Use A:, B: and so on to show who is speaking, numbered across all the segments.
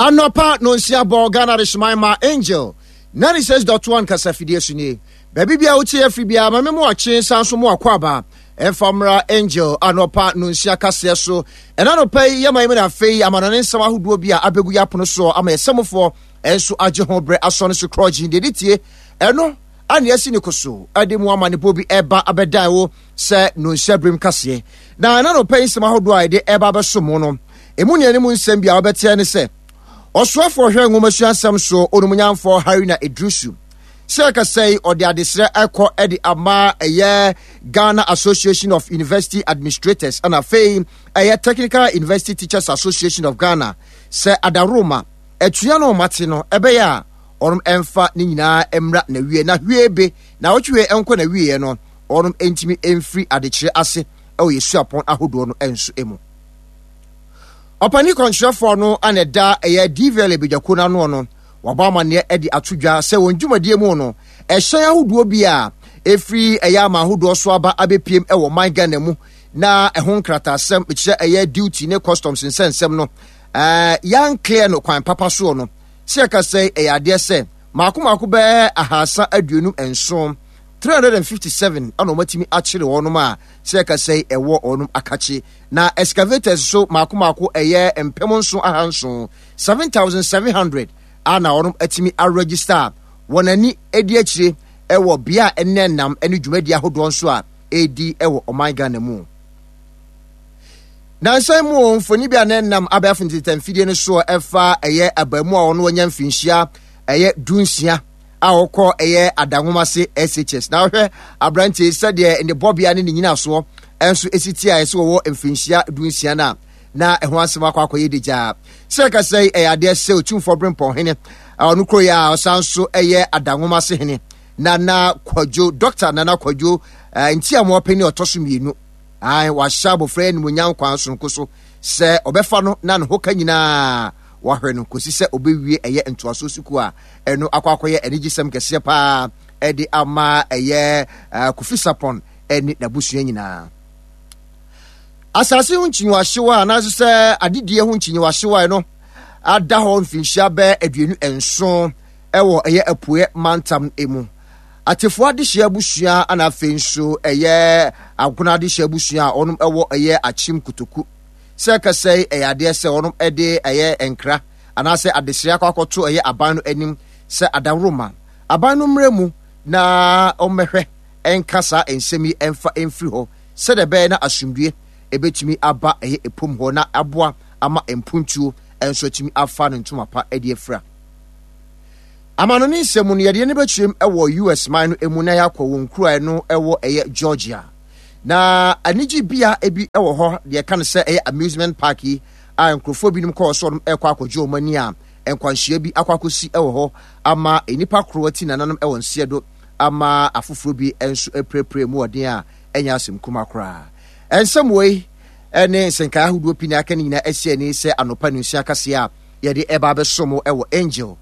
A: Anɔpa nonsia bɔ Ghana Adehyeman ma Angel 96.1 kasafidie so nie. Baabi biara wotie afiri biara ma me mo akye san so mo akɔ aba. Ɛmfa mmra Angel anɔpa nonsia kaseɛ so. Ɛna anɔpa yi yɛma yɛmu na afei amanɔne nsɛm ahodoɔ bi a abɛgu yɛ apono soɔ ama yɛsɛmofoɔ nso agye ho berɛ asɔ no so korɔgye deɛ de tie ɛno ane asi ne koso ɛde mu amanebɔ bi ɛba abɛdan wo sɛ nonsia birim kaseɛ. Na ɛna anɔpa yi nsɛm ahodoɔ a yɛde ɛba abɛso mo no emu nea ne mu nsɛm bi a wɔbɛteɛ ne sɛ ɔsoafoɔ hwɛ nwomasua nsɛm so onumnyamfoɔ Haruna Iddrisu sɛ ɛkasa yi ɔde adesrɛ ɛkɔ de ama ɛyɛ Ghana Association of University Administrators ɛna afei ɛyɛ Technical University Teachers Association of Ghana sɛ adaworoma atua no ɔmate no ɛbɛyɛ a ɔnom ɛmfa ne nyinaa mmra na wie na hwie be na ɔtwe ɛnkɔ na wieɛ no ɔnom ɛntumi ɛmfiri adekyerɛ ase ɛwɔ yɛ suapɔn ahodoɔ no ɛnso ɛmu. Ɔpanin kwankyerɛfoɔ no a na ɛda ɛyɛ DVLA badwakuo no ano no, wabɔ amanneɛ de ato dwa sɛ wɔn dwumadie mu no, ɛhyɛn ahodoɔ bi a ɛfiri ɛyɛ aman ahodoɔ so aba abɛpiem wɔ ɔman Ghana mu na ɛho nkrataasɛm mekyerɛ ɛyɛ duty ne customs nsɛnsɛm no yɛn clear no kwan papa soɔ no sɛ yɛka sɛ ɛyɛ adeɛ sɛ maako maako bɛɛ 327 357 ɛna wɔatumi akyere wɔnom a sɛ yɛka sɛ ɛwɔ wɔnom akakye Na excavators nso mako mako ɛyɛ 7600, 7,700, a na wɔn atumi aregister a wɔn ani di akyire wɔ bea a ɛnɛ nam ne dwumadi ahodoɔ nso a ɛredi wɔ ɔman Ghana mu. Nansa mu mfoni bi a na ɛnam abɛɛfo ntetamfidie no soɔ ɛfa ɛyɛ abaamu a ɔno anya mfinhyia ɛyɛ 16 a ɔkɔ ɛyɛ Adanwomase SHS. Na wohwɛ aberanteɛ yi sɛdeɛ ne bɔbea ne ne nyinasoɔ nso ɛsi ti a ɛsɛ wɔwɔ mfirinhyia 16 no a na ɛho asɛm akɔ akɔyɛ degyaa. Sɛ ɛkasa yi ɛyɛ adeɛ sɛ Otumfoɔ Berempɔn hene ɔno kuro yi a ɔsan nso ɛyɛ Adanwomase hene Nana Kwadwo, Dɔkta Nana Kwadwo Ntiamoa panin ɔtɔ so mmienu. Ae, wahyɛ abɔfra yi animuonyam kwan sononko so sɛ ɔbɛfa no na ne ho ka nyinaa wahwɛ no kɔsi sɛ ɔbɛwie ɛyɛ ntoasoɔ sukuu a ɛno akɔ akɔyɛ anigyesɛm kɛseɛ paa ɛde ama ɛyɛ Kofi Sapon ɛne n'abusua nyinaa. Asase ho nkyinyiwahyew a anaasɛ sɛ adedie ho nkyinyiwahyew a ɛno ada hɔ mfinhyia bɛɛ 27 ɛwɔ ɛyɛ apueɛ mantam mu. Atefoɔ adehyeɛ abusua ana afei nso ɛyɛ Agona adehyeɛ abusua a wɔnom ɛwɔ ɛyɛ Akyem Kotoku. Sɛ ɛkasa yi ɛyɛ adeɛ sɛ wɔnom ɛde ɛyɛ nkra anaasɛ adesrɛ akɔ akɔto ɛyɛ aban no anim sɛ adaworoma aban no mmerɛ mu na ɔmmɛhwɛ ɛnka saa nsɛm yi ɛmfa ɛmfiri hɔ sɛdeɛ ɛbɛyɛ na asomdue ɛbɛtumi aba ɛyɛ ɛpom hɔ na aboa ama mpuntuo ɛnso atumi afa ne ntoma pa ɛde afira. Amanɔne nsɛm mu no yɛde yɛn bɛkyerɛm ɛwɔ US man no ɛmu na yɛakɔ wɔn nkuro a ɛno ɛwɔ ɛyɛ Georgia. Na anigye bea bi wɔ hɔ deɛ ɛka no sɛ ɛyɛ amusement park yi a nkurɔfoɔ binom kɔɔ so wɔn ɛkɔ akɔgye wɔn ani a nkwanhyia bi akɔ akɔsi wɔ hɔ ama nnipa koro ati nananom wɔ nseɛ do ama afoforɔ bi nso apirapira mu ɔden a ɛnyɛ asɛm kuma koraa. Nsɛm wei ne nsɛnkae ahodoɔ pii na aka ne nyinaa asi ani sɛ anɔpa nunsia kaseɛ a yɛde ɛba abɛso mo wɔ Angel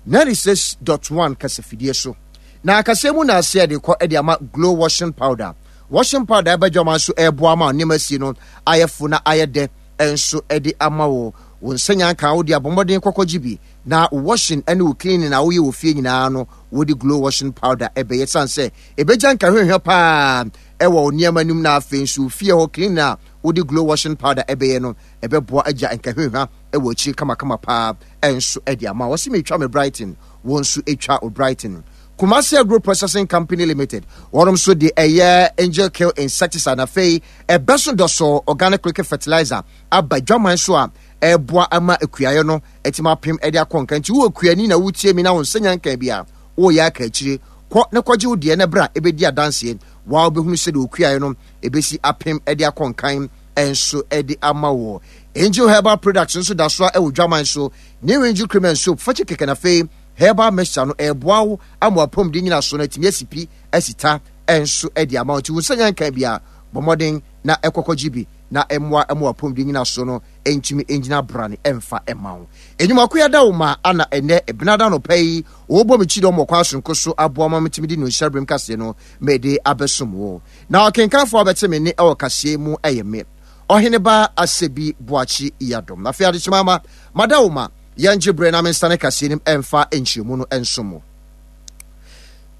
A: 96.1 kasafidie so. Na kaseɛ mu na aseɛ de kɔ de ama Glow Washing Powder. Washing powder ɛba dwama nso ɛreboa ma nneɛma sie no ayɛ fo na ayɛ dɛ nso de ama wo. Wo nsa nyanka wo de abɔ mmɔden kɔkɔgye bi na wo washing ne wo cleaning a woyɛ wɔ fie nyinaa no wode Glow Washing Powder ɛbɛyɛ sane sɛ ɛbɛgya nkahwehwɛ paa ɛwɔ wo nneɛma no mu na afei nso fie hɔ cleaning a wode Glow Washing Powder ɛbɛyɛ no ɛbɛboa agya nkahwehwɛ ɛwɔ akyiri kamakama paa nso de ama. Wɔse metwa me Brighton, wo nso twa wo Brighton. Kumasi Agro Processing Company Limited, wɔnom nso de ɛyɛ Angel Kill Insecticide na afei ɛbɛso dɔsɔ organic liquid fertilizer aba dwaman so a ɛboa ama akuayɛ no atumi apem de akɔ nka. Nti wowɔ kuani na wotie mi na wo nsa nya nka bi a, woyɛ aka akyire. Kɔ na kɔgye wo deɛ na bra ɛbɛdi adanseɛ. Waa wobɛhunu sɛdeɛ okuayɛ no ɛbɛsi apem de akɔ nkan nso de ama wo. Angel Herbal Products nso da so a ɛwɔ dwaman so. New Angel Cream and Soap, fakye kɛkɛ na afei herbal mixture no ɛreboa wo ama w'apɔmuden nyinaso no atumi asi pi asi ta nso de ama wo. Nti wo nsa nya nkan bi a, bɔ mmɔden na ɛkɔkɔgye bi na ɛmmoa ma w'apɔmuden nyinaso no ntumi ngyina brane ɛmfa mma wo. Enyimako yi ada wo ma ana ɛnɛ Ebenada anɔpa yi wɔbɔ me kyidɔm wɔ kwan soronko so aboa ma metumi de Nonhyira Berem kaseɛ no mede abɛsom wo. Na ɔkenkanfoɔ a ɔbɛte me nne wɔ kaseɛ yi mu yɛ me, Ɔheneba Asebi Boakye Yiadom. Na afei adekyema ama mada wo ma. Yɛngye berɛ na mensane kaseɛ no mu ɛmfa nkyerɛmu no nsom mo.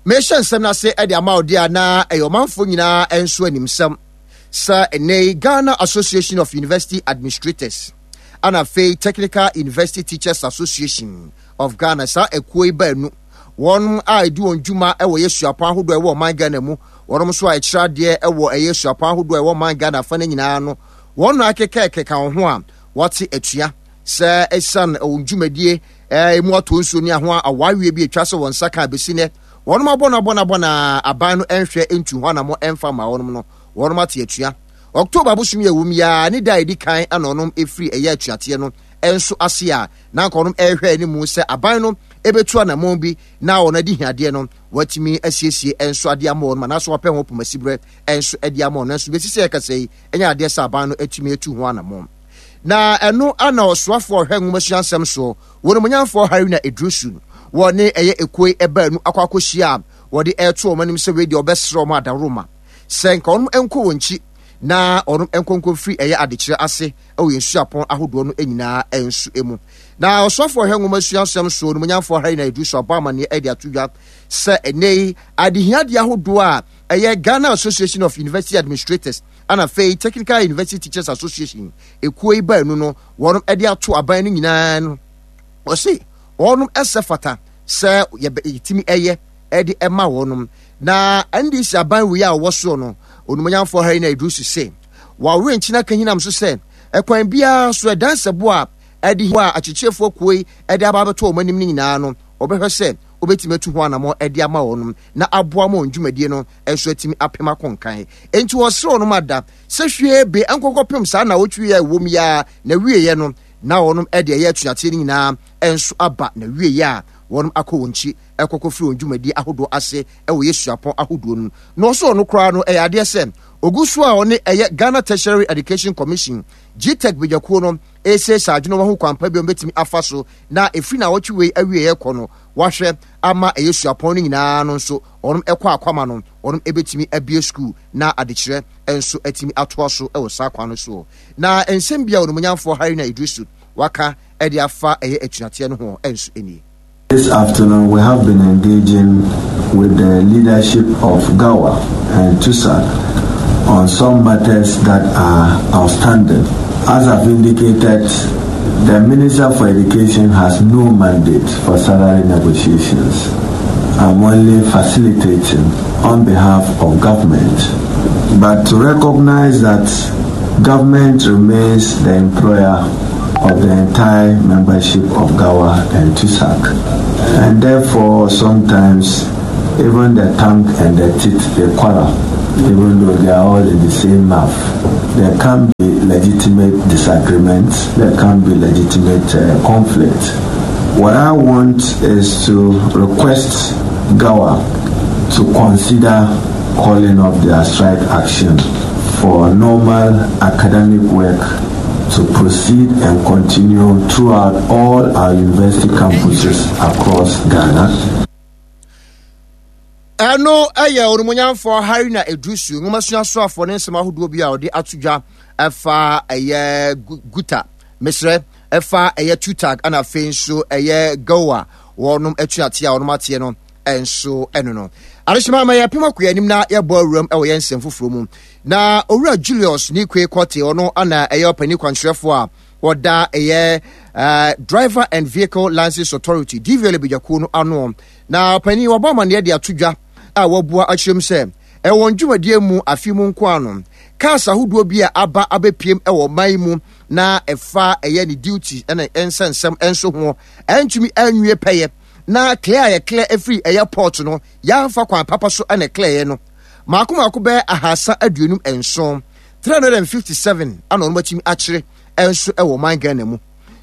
A: Mehyɛ nsɛm no ase de ama wo deɛ a na ɛyɛ ɔmanfoɔ nyinaa nso animsɛm sɛ ɛnnɛ yi Ghana Association of University Administrators ana afei Technical University Teachers Association of Ghana saa akuo yi baanu wɔn a ɛdi wɔn dwuma wɔ yɛ suapɔn ahodoɔ ɛwɔ ɔman Ghana mu wɔn nso a ɛkyerɛ adeɛ wɔ ɛyɛ suapɔn ahodoɔ ɛwɔ ɔman Ghana afa no nyinaa no wɔn na akekɛkeka wɔn ho a wɔate atua sɛ ɛsiane wɔn dwumadie ɛmu atɔ nsuo ne aho awareɛ bi atwa sɛ wɔn nsa ka abɛsi nɛ wɔn abɔ no abɔ no abɔ na aban no nhwɛ ntu ho anamɔ ɛmfa ma wɔn no wɔn ate atua. October abosom yi a ɛwom yi ara ne da a ɛdi kan na ɔnom ɛfiri ɛyɛ atuateɛ no nso ase a na anka ɔnom ɛrehwɛ anim sɛ aban no ɛbɛtu anamɔn bi na wɔn adehiadeɛ no wɔatumi asiesie nso adeɛ ama wɔn anaasɛ wɔapɛ ho pomasiberɛ nso de ama wɔn, nanso bɛsi sɛ yɛkasa yi ɛnyɛ adeɛ sɛ aban no atumi atu ho anamɔn. Na ɛno ana ɔsoafoɔ ɔhwɛ nwomasua nsɛm soɔ wɔn onimuonyamfoɔ Haruna Iddrisu wɔ ne ɛyɛ ekuo yi ɛbaanu akɔ akɔhyia a wɔde ɛreto wɔn anim sɛ wei deɛ ɔbɛsrɛ wɔn adaworoma sɛ nka wɔn nkɔ wɔn nkyi na wɔn nkɔnkɔ mfiri ɛyɛ adekyerɛ ase wɔ yɛn suapɔn ahodoɔ no nyinaa nso mu. Na ɔsoafoɔ ɔhwɛ nwoma sua nsɛm so onimuonyamfoɔ Haruna Iddrisu abɔ amanneɛ de ato dwa sɛ ɛnnɛ yi adehiadeɛ ahodoɔ a ɛyɛ Ghana Association of University Administrators ana afei Technical University Teachers Association ekuo yi baanu no wɔn de ato aban no nyinaa no wɔse wɔn ɛsɛ fata sɛ yɛtumi ɛyɛ ɛde ɛma wɔnom. Na NDC aban wei a ɔwɔ soɔ no, Onumonyamfoɔ Haruna Iddrisu se, wawe nkyene aka hinam so sɛ, ɛkwan biara so ɛdan sɛbo a ɛde a akyekyerefoɔ kuo yi de aba abɛto wɔn anim no nyinaa no, ɔbɛhwɛ sɛ obetumi atu ho anamɔ de ama wɔnom na aboa ma wɔn dwumadie no nso atumi apem akɔ nkan. Enti wɔsrɛ wɔnom ada sɛ hwee be nkɔkɔpem saa nnawɔtwe yi a ɛwom yi ara na wieɛ no na wɔnom de ɛyɛ atuateɛ no nyinaa nso aba na wieɛ a wɔnom akɔ wɔn nkyi ɛkɔkɔ firi wɔn dwumadie ahodoɔ ase wɔ yɛ suapɔn ahodoɔ no mu. Na ɔso ɔno koraa no ɛyɛ adeɛ sɛ ɔgu so a ɔne ɛyɛ Ghana Tertiary Education Commission, GTEC badwakuo no ɛresiesie adwene wɔn ho kwan pa bi a wɔbɛtumi afa so na ɛfiri naawɔtwe wei awieɛ kɔ no wɔahwɛ ama ɛyɛ suapɔn no nyinaa no nso wɔn ɛkɔ akwama no wɔn ɛbɛtumi abue sukuu na adekyerɛ nso atumi atoa so wɔ saa kwan no soɔ. Na nsɛm bi a Onimuonyamfoɔ Haruna Iddrisu waka de afa ɛyɛ atuateɛ no ho nso nie.
B: This afternoon, we have been engaging with the leadership of GAWA and TUSAC on some matters that are outstanding. As I've indicated, the Minister for Education has no mandate for salary negotiations. I'm only facilitating on behalf of government. But to recognize that government remains the employer of the entire membership of GAWA and TUSAC. And therefore, sometimes even the tongue and the teeth, they quarrel, even though they are all in the same mouth. There can be legitimate disagreements, there can be legitimate uh, conflict. What I want is to request GAWA to consider calling off their strike action for normal academic work to proceed and continue throughout all our university campuses across Ghana.
A: Ɛno yɛ Onimuonyamfoɔ Haruna Iddrisu, nwomasua soafoɔ ne nsɛm ahodoɔ bi a ɔde ato dwa ɛfa ɛyɛ Guta, mesrɛ, ɛfa ɛyɛ Tutag ɛna afei nso ɛyɛ Goa wɔnom atuateɛ a wɔnom ateɛ no nso ɛno no. Adehyema ma yɛpem akɔ yɛn anim na yɛbɔ awuram ɛwɔ yɛn nsɛm foforɔ mu. Na Owura Julius Nikwe Kɔte, ɔno ana ɛyɛ ɔpanin kwankyerɛfoɔ a wɔda ɛyɛ uh, Driver and Vehicle License Authority DVLA badwakuo no ano. Na ɔpanin wɔbɔ amanneɛ de ato dwa a wɔabua akyerɛm sɛ ɛwɔ wɔn dwumadie mu afe mu nko ano cars ahodoɔ bi a aba abɛpiem wɔ ɔman yi mu na ɛfa ɛyɛ ne duty ne nsɛnsɛm nso ho ɛntumi anwie pɛyɛ na clear a yɛclear ɛfiri ɛyɛ port no yɛamfa kwan papa so ɛna clear no mako mako bɛyɛ 357, 357 ana wɔn atumi akyere nso wɔ ɔman Ghana mu.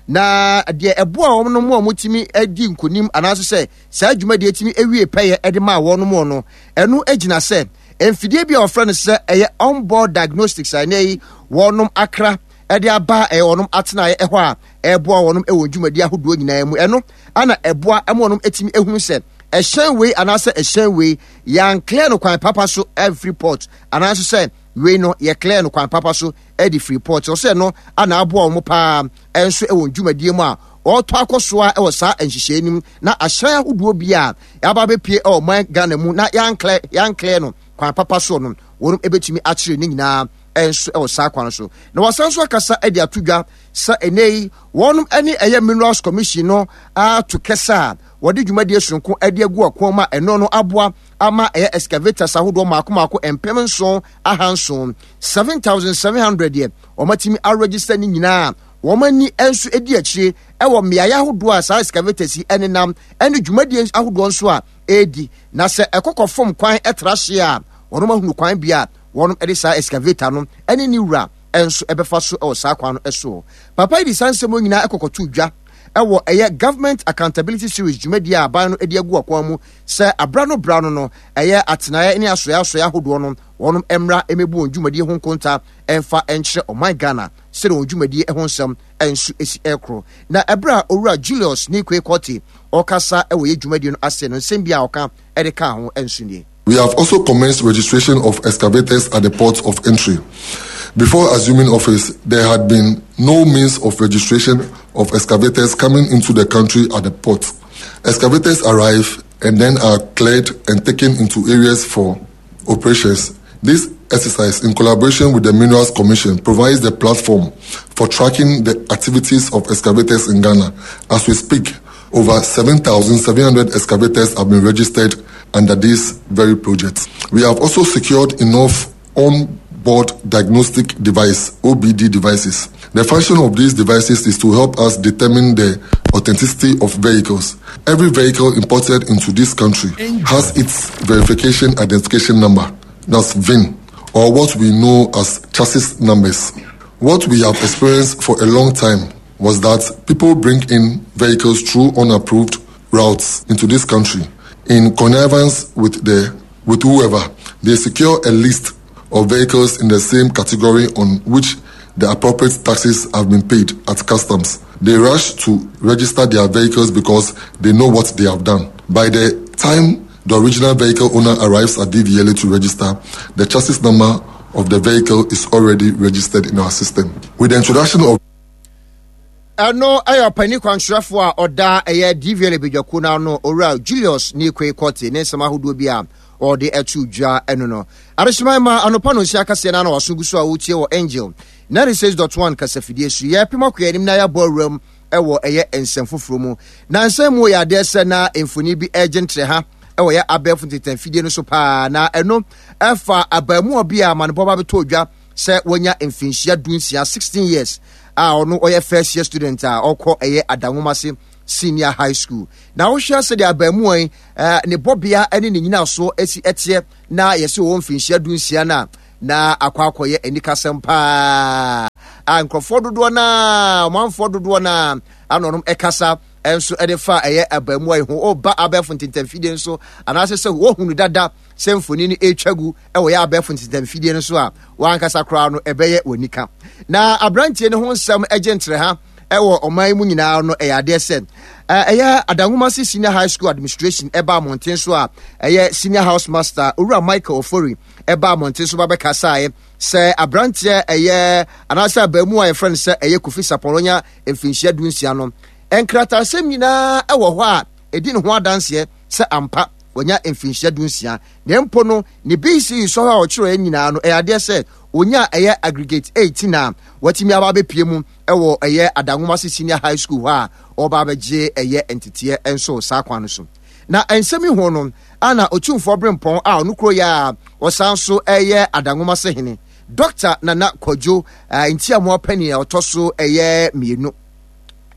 A: Na deɛ ɛboa wɔn no mu a wɔtumi di nkonim anaasɛ sɛ saa dwumadie tumi awie pɛyɛ de maa wɔn mu no, ɛno gyina sɛ mfidie bi a wɔfrɛ no sɛ ɛyɛ onboard diagnostics a ɛnɛ yi wɔnom akra de aba ɛyɛ wɔnom atenaeɛ ɛhɔ a ɛboa wɔnom wɔ dwumadie ahodoɔ nyinaa mu. Ɛno ana ɛboa ma wɔnom atumi ehunu sɛ ɛhyɛn wei anaasɛ ɛhyɛn wei yɛanclear no kwan papa so amfiri port anaasɛ sɛ wei no yɛclear no kwan papa so de firi port. Ɔsɛ no ana aboa wɔn paa nso wɔ dwumadie mu a ɔretɔ akɔ so ara wɔ saa nhyehyɛe no mu na ahyɛn ahodoɔ bi a yɛaba abɛpue wɔ ɔman Ghana mu na yɛanklɛ yɛanklɛ no kwan papa soɔ no, wɔnom bɛtumi akyere ne nyinaa nso wɔ saa kwan no so. Na wɔasan nso akasa de ato dwa sɛ ɛnɛ yi wɔnom ne ɛyɛ Minerals Commission no ato kɛsɛ a wɔde dwumadie soronko de agu akwan mu a ɛno no aboa ama ɛyɛ excavators ahodoɔ mmaako mmaako 7700, 7,700 deɛ wɔatumi aregister ne nyinaa wɔn ani nso di akyire wɔ mmeaeɛ ahodoɔ a saa excavators yi nenam ne dwumadie ahodoɔ nso a ɛredi na sɛ ɛkɔkɔ fam kwan tra hyeɛ a wɔn ahunu kwan bea a wɔn de saa excavator no ne ne wura nso ɛbɛfa so wɔ saa kwan no soɔ. Papa yi de saa nsɛm nyinaa ɛkɔkɔto dwa ɛwɔ ɛyɛ Government Accountability Series dwumadie a aban no de agu akwan mu sɛ abra no bra no no ɛyɛ atenaeɛ ne asoɛe asoɛe ahodoɔ no wɔn mmra mmɛbu wɔn dwumadie ho nkonta ɛmfa nkyerɛ ɔman Ghana sɛdeɛ wɔn dwumadie ho nsɛm nso si ɛrekoro. Na ɛberɛ a Owura Julius Nikwe Quartey ɔrekasa wɔ yɛ dwumadie no ase no nsɛm bi a ɔka de kaa ho nso nie.
C: We have also commenced registration of excavators at the ports of entry. Before assuming office, there had been no means of registration of excavators coming into the country at the port. Excavators arrive and then are cleared and taken into areas for operations. This exercise, in collaboration with the Minerals Commission, provides the platform for tracking the activities of excavators in Ghana. As we speak, over 7,700 excavators have been registered under this very project. We have also secured enough on-board diagnostic device, OBD devices. The function of these devices is to help us determine the authenticity of vehicles. Every vehicle imported into this country has its verification identification number, that's VIN, or what we know as chassis numbers. What we have experienced for a long time was that people bring in vehicles through unapproved routes into this country in connivance with the with whoever. They secure a list of vehicles in the same category on which the appropriate taxes have been paid at customs. They rush to register their vehicles because they know what they have done. By the time the original vehicle owner arrives at DVLA to register, the chassis number of the vehicle is already registered in our system. With the introduction of
A: Ɛno yɛ ɔpanyin kwankyerɛfo a ɔda ɛyɛ DVLA badwakuo no ano, Owura Julius Nikwe Quartey ne nsɛm ahodoɔ bi a ɔde ato dwa ɛno no. Adehyeman ma anɔpa no nsia kaseɛ no ano waso gu so a wotie wɔ Angel 96.1 kasafidie so. Yɛrepem akɔ yɛn anim na yɛabɔ awuram wɔ ɛyɛ nsɛm foforɔ mu. Na nsɛm mu yɛ adeɛ sɛ na mfoni bi regye ntrɛ ha wɔ yɛ abɛɛfo ntetanfidie no so paa na ɛno ɛfa abaamuwa bi a amanebɔ ba bɛtɔ dwa sɛ wanya mfinhyia dunsia, 16 years, a ɔno ɔyɛ first year student a ɔkɔ ɛyɛ Adanwomase Senior High School. Na wohwɛ sɛdeɛ abaamuwa yi eh, ne bɔbea ne ne nyinasoɔ asi ɛteɛ na yɛsɛ ɔwɔ mfinhyia dunsia no a na akɔ akɔyɛ anikasɛm paa a nkurɔfoɔ dodoɔ no a ɔmanfoɔ dodoɔ no a ano ɔnom ɛkasa nso ɛde fa ɛyɛ abaamuwa yi ho ɔba abɛɛfo ntentamfidie nso anaasɛ sɛ wɔhunu dada sɛ mfoni no ɛretwa gu wɔ yɛ abɛɛfo ntentamfidie no so a wankasa koraa no ɛbɛyɛ w'anika. Na aberanteɛ no ho nsɛm gye ntrɛha wɔ ɔman yi mu nyinaa no ɛyɛ adeɛ sɛ ɛyɛ Adanwomase Senior High School Administration ɛba mmɔnten so a ɛyɛ Senior House Master Owura Michael Ofori ɛba mmɔnten so ba bɛkasaeɛ sɛ aberanteɛ ɛyɛ anaasɛ abaamu a yɛfrɛ no sɛ ɛyɛ Kofi Sapɔn ɔnya mfinhyia dunsia no nkrataasɛm nyinaa ɛwɔ hɔ a ɛdi ne ho adanseɛ sɛ ampa wanya mfinhyia dunsia, na mpo no ne BCE sɔhwɛ a ɔkyerɛɛ nyinaa no ɛyɛ adeɛ sɛ ɔnya ɛyɛ aggregate 18 a watumi aba abɛpue mu wɔ ɛyɛ Adanwomase Senior High School hɔ a ɔreba abɛgye ɛyɛ nteteɛ nso saa kwan no so. Na nsɛm yi ho no ana Otumfoɔ Berempɔn a ɔno kuro yɛ a ɔsan so ɛyɛ Adanwomase hene Dɔkta Nana Kwadwo Ntiamoa Panin a ɔtɔ so ɛyɛ mmienu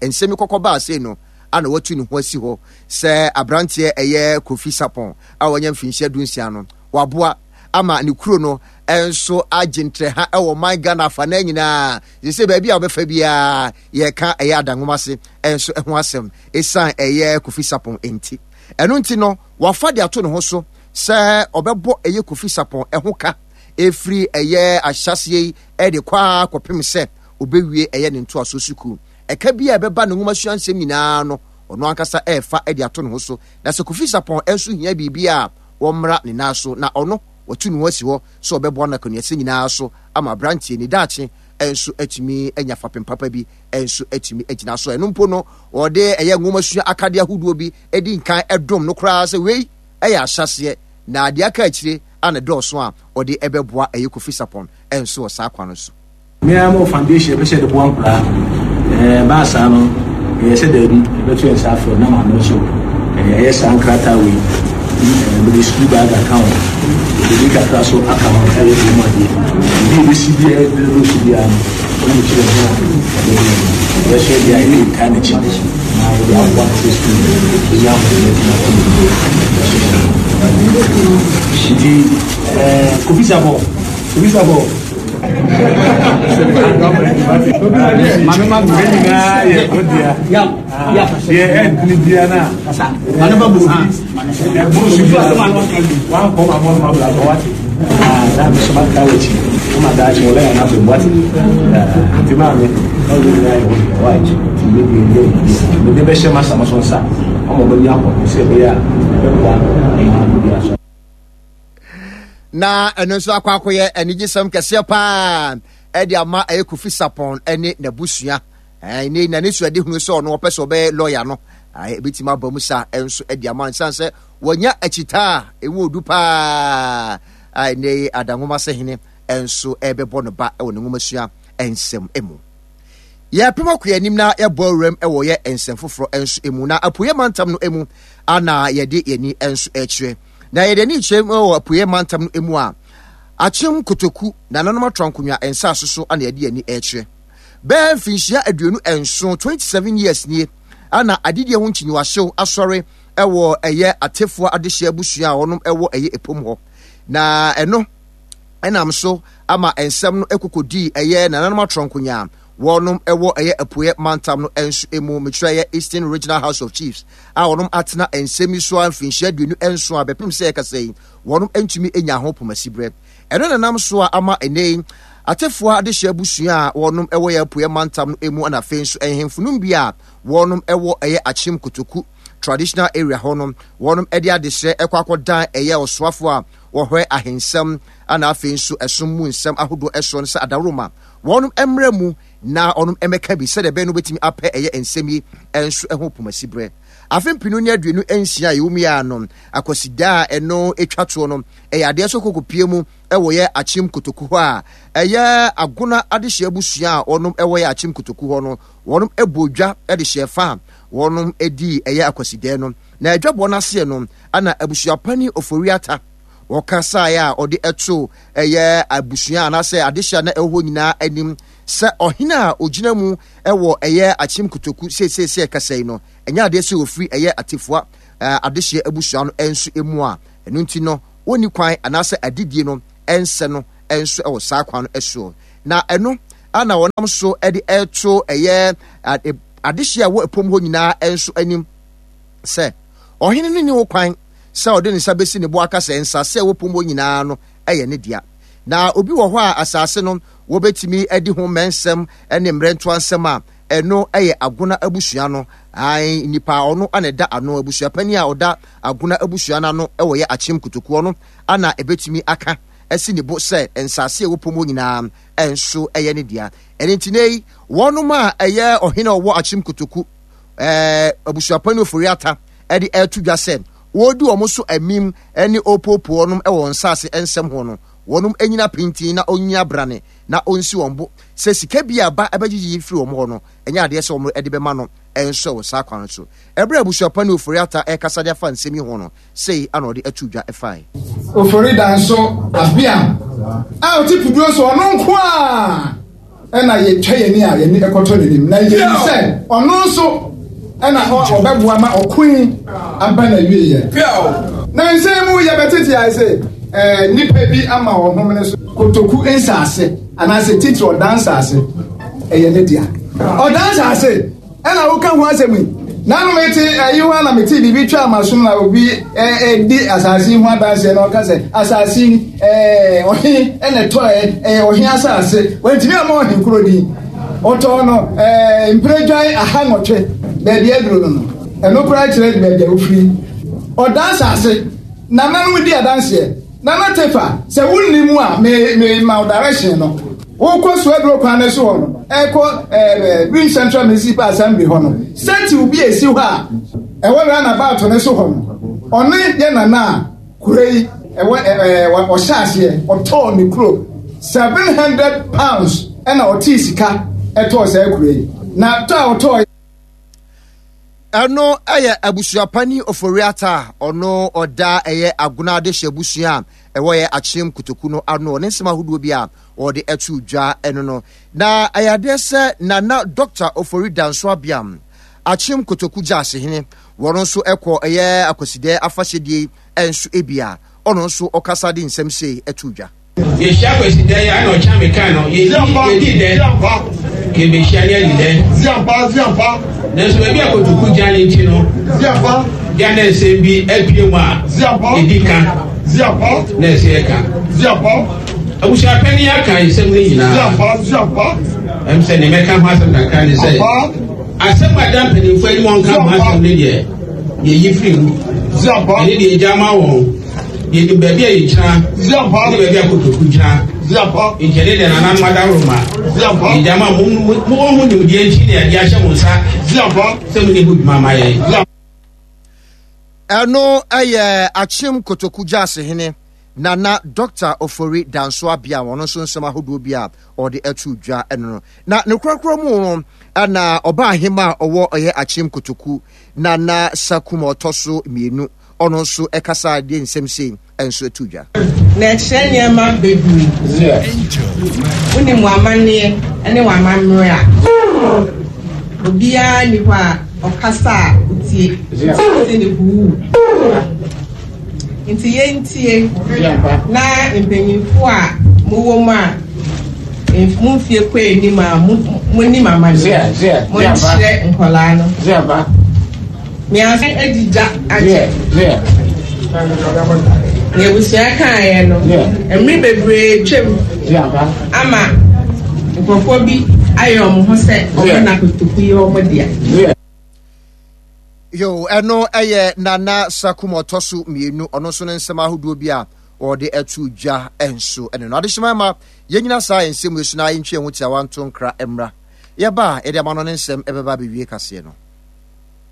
A: nsɛm yi kɔkɔ baa sei no a na watu ne ho asi hɔ sɛ aberanteɛ ɛyɛ Kofi Sarpong a wanya mfinhyia dunsia no, waboa ama ne kuro no nso agye ntrɛha wɔ man Ghana afanaa nyinaa. Sɛ baabi a wɔbɛfa biara yɛka ɛyɛ Adanwomase nso ho asɛm ɛsiane ɛyɛ Kofi Sarpong nti. Ɛno nti no, wafa de ato ne ho so sɛ ɔbɛbɔ ɛyɛ Kofi Sarpong ɛho ka ɛfiri ɛyɛ ahyɛaseɛ yi ɛde kɔ ara kɔpem sɛ ɔbɛwie ɛyɛ ne ntoasoɔ sukuu. Ɛka bi a ɛbɛba ne nwomasua nsɛm nyinaa no, ɔno ankasa refa de ato ne ho so. Na sɛ Kofi Sarpong nso hia biribi a, wɔmmra ne nan so, na ɔno, watu ne ho asi hɔ sɛ ɔbɛboa no akwannuasɛm nyinaa so ama aberanteɛ ne daakye. nso atumi anya fapem papa bi nso atumi agyina so. Ɛno mpo no, wɔde ɛyɛ nwomasua akadeɛ ahodoɔ bi di nkan dom no koraa sɛ wei yɛ ahyɛaseɛ na deɛ aka akyire a na ɛdɔɔso a ɔde ɛbɛboa ɛyɛ Kofi Sarpong nso wɔ saa kwan no so.
D: Me ara mewɔ foundation yɛpɛ sɛ yɛde boa nkoraa. Ɛbaa saa no, ɛyɛ sɛ daabi, yɛbɛto yɛn nsa afrɛ na maame nso ɛyɛ saa nkrataa wei. Mede school bag aka ho, mede kakra so aka ho ɛyɛ wɔn mu adeɛ. Ebi ebesi bi a ɛyɛ dɔɔso biara no, wɔn mu kyerɛ ho a yɛde yɛsɔ deɛ a yɛde taa n'akyi na yɛde aboa no sɛ school no ɛnya ahoɔden atumi akɔ n'anim. Nti ɛɛ Kofi Sarpong, Kofi Sarpong.
A: Na ɛno nso akɔ akɔyɛ anigyesɛm kɛseɛ paa ɛde ama ɛyɛ Kofi Sarpong ɛne n'abusua. Ɛne na ne suade hunu sɛ ɔno ɔpɛ sɛ ɔbɛyɛ lɔya no, ɛbɛtumi aba mu saa ɛnso ɛde ama nsan sɛ wɔnya akyitaa a ɛmu odu paa a ɛnɛ adanwoma sɛ hene ɛnso ɛbɛbɔ no ba ɛwɔ ne nwomasua nsɛm mu. Yɛrepem akɔ yɛn anim na yɛbɔ awuram wɔ yɛ nsɛm foforɔ nso mu. Na apueɛ mantam no mu ana yɛde yɛn ani nso rekyerɛ. Na yɛde ani rekyerɛ wɔ apueɛ mantam no mu a, Akyem Kotoku nananom atra nkonnwa nsaase so ana yɛde yɛn ani rekyerɛ. Bɛyɛ mfinhyia 27, 27 years nie, ana adidie ho nkyinyiwahyew asɔre wɔ ɛyɛ Atefoɔ adehyeɛ abusua a wɔnom wɔ ɛyɛ Epom hɔ. Na ɛno ɛnam so ama nsɛm no kɔkɔdii ɛyɛ nananom atrɔnkonyaa wɔnom ɛwɔ ɛyɛ apueɛ mantam no nso mu, mekyerɛ ɛyɛ Eastern Regional House of Chiefs a wɔnom atena nsɛm yi so ara mfinhyia 27 a bɛpem sɛ yɛkasa yi wɔnom ntumi nya ho pomasiberɛ. Ɛno na nam so a ama ɛnɛ yi Atefoɔ adehyeɛ abusua a wɔnom ɛwɔ yɛ apueɛ mantam no mu na afei nso nhemfo nom bi a wɔnom ɛwɔ ɛyɛ Akyem Kotoku traditional area hɔ no wɔnom ɛde adesrɛ ɛkɔ akɔdan ɛyɛ ɔsoafoɔ a wɔhwɛ ahensɛm na afei nso ɛsom mu nsɛm ahodoɔ ɛsoɔ no sɛ adaworoma wɔnom mmra mu na wɔnom mmɛka bi sɛdeɛ ɛbɛyɛ no wobɛtumi apɛ ɛyɛ nsɛm yi nso ɛho pomasiberɛ. Afe 2026 a yɛwɔ mu yi ara no, Akwasidaa a ɛno ɛtwa toɔ no, ɛyɛ adeɛ sɛ kɔkɔpie mu ɛwɔ yɛ Akyem Kotoku hɔ a ɛyɛ Agona adehyeɛ abusua a wɔnom ɛwɔ yɛ Akyem Kotoku hɔ no, wɔnom ɛbɔɔ dwa de hyɛɛ fa a wɔnom ɛdii ɛyɛ Akwasidɛɛ no. Na adwabɔ no aseɛ no, ana abusuapanin Ofori-Atta ɔkasaeɛ a ɔde too ɛyɛ abusua anaasɛ adehye a na ɛwɔ hɔ nyinaa anim sɛ ɔhene a ɔgyina mu wɔ ɛyɛ Akyem Kotoku seesei sɛ ɛkasa yi no, ɛnyɛ adeɛ sɛ ɔfiri ɛyɛ Atefua adehyeɛ abusua no nso mu a ɛno nti no wɔnni kwan anaasɛ adedie no ɛnsɛ no nso wɔ saa kwan no soɔ. Na ɛno ana wɔnam so de ɛto ɛyɛ adehyeɛ a ɛwɔ ɛpom hɔ nyinaa nso anim sɛ ɔhene no nni ho kwan sɛ ɔde ne nsa besi ne bo aka sɛ nsase a ɛwɔ po mu hɔ nyinaa no yɛ ne dea. Na obi wɔ hɔ a asase no wɔbɛtumi adi ho mmɛnsɛm ne mmerɛntoa nsɛm a, ɛno yɛ Agona abusua no. Ae, nnipa a ɔno na ɛda ano, abusuapanin a ɔda Agona abusua no ano wɔ yɛ Akyem Kotoku, ɔno na ɛbɛtumi aka asi ne bo sɛ nsase a ɛwɔ po mu hɔ nyinaa nso yɛ ne dea. Ɛno nti nnɛ yi, wɔnom a ɛyɛ ɔhene a ɔwɔ Akyem Kotoku, ɛɛ abusuapanin Ofori-Atta de reto dwa sɛ wɔredi wɔn so amim ne ɔrepoopoo wɔn wɔ wɔn nsase nsɛm ho no, wɔnom nnyina pintinn na ɔnnyina brane na ɔnsi wɔn bo sɛ sika bi a ba bɛgyegye firi wɔn hɔ no, ɛnyɛ adeɛ sɛ wɔde bɛma no nso wɔ saa kwan no so. Ɛberɛ a abusuapanin Ofori-Atta rekasa de afa nsɛm yi ho no, sei ana ɔde ato dwa fae.
E: Ofori Danso Abeam a ɔte Puduro so ɔno nko a ɛna yɛtwa yɛn ani a yɛn ani kɔtɔ n'anim na yɛnim sɛ ɔno nso ɛna ɔbɛboa ma ɔko yi aba n'awieɛ. Na nsɛm mu yɛbɛtete ayɛ sɛ ɛɛ nnipa bi ama wɔn homene so kotoku nsaase anaasɛ titiri ɔdan nsaase ɛyɛ ne dea. Ɔdan nsaase Ɛna woka ho asɛm yi. Nanu mete ɛyi ho na mete biribi twa m'asom na obi ɛdi asase yi ho adanseɛ na ɔka sɛ asase yi ɛɛ ɔhe ɛna ɛtɔɛ ɛyɛ ɔhe asase wɔntumi ama ɔhe koro din ɔtɔɔ no ɛɛ mpiredwan 18 baabi aduro no no ɛno koraa kyerɛ baabi a ofiri ɔda asase nananom di adanseɛ nana tefa sɛ wonni mu a me me ma direction no. Wokɔ Suaduro kwan no so hɔ no, ɛkɔ ɛɛ Rim Central Municipal Assembly hɔ no, statue bi a esi hɔ a ɛwɔ roundabout no so hɔ no, ɔne yɛ nana a kuro yi ɛwɔ ɛɛ ɔhyɛ aseɛ ɔtɔɔ ne kuro £700 ɛna ɔtee sika ɛtɔɔ saa kuro yi na tɔ a ɔtɔɔ.
A: Ɛno yɛ abusuapani Ofori-Atta a ɔno ɔda ɛyɛ Agona Adehye abusua a ɛwɔ yɛ Akyem Kotoku no ano ne nsɛm ahodoɔ bi a ɔde ato dwa ɛno no. Na ɛyɛ adeɛ sɛ Nana Dɔkta Ofori Danso Abiam, Akyem Kotoku Gyaasehene, wɔn nso ɛkɔ ɛyɛ Akwasidɛ afahyɛdie nso ebi a ɔno nso ɔkasa de nsɛm sei ɛto dwa.
F: Yɛhyia Kwasida yi a na ɔkyea me kan no, yɛdi yɛdi dɛ, yɛbɛhyia ne adi dɛ. Nanso baabi a kotoku gya ne nti no, gya na nsɛm bi apue mu a ɛdi ka na ɛsɛ yɛka. Abusuapɛni aka nsɛm no nyinaa. Ɛm sɛ ne mɛka ho asɛm kakra ne sɛ asɛm a da mpanimfoɔ anim ɔnka ho asɛm no deɛ yɛyi firi mu. Ɛne deɛ ɛgya ma wɔn. Yɛnim baabi a yɛgyina ne baabi a kotoku gyina. Nti ɛne deɛ nananom adaworoma. Yɛgya ma mo mowɔ ho nimdeɛ nti na yɛde ahyɛ mo nsa sɛ mone ho dwuma ma yɛn.
A: Ɛno yɛ Akyem Kotoku Gyaasehene Nana Dɔkta Ofori Danso Abia wɔn nso nsɛm ahodoɔ bi a ɔde ato dwa ɛno no. Na ne korakora mu no ɛna ɔbaa ahema a ɔwɔ ɔyɛ Akyem Kotoku Nana Sakum ɔtɔ so mmienu ɔno nso ɛkasa de nsɛm sei nso to dwa.
G: Na ɛkyerɛ nneɛma bebree. Wonim w'amanneɛ ne w'amammerɛ a, obiara nni hɔ a ɔkasa a wotie te ne huu. Nti yɛntie na mpanyimfo a mowɔ mu a mo mfie kɔ anim a monim amanneɛ monkyerɛ nkwadaa no. Measan adi gya akyɛ. Nea abusua kaeɛ no, mmere bebree twam ama nkurɔfoɔ bi ayɛ wɔn ho sɛ wɔn na kotoku yɛ wɔn dea.
A: Yo, ɛno ɛyɛ Nana Sakum ɔtɔ so mmienu, ɔno nso ne nsɛm ahodoɔ bi a wɔde ato dwa nso ɛno no. Adehyema ma yɛnyina saa nsɛm yi so na yɛntwe yɛn ho tiawa nto nkra mmra. Yɛba a, yɛde ama no ne nsɛm ɛbɛba abɛwie kaseɛ no.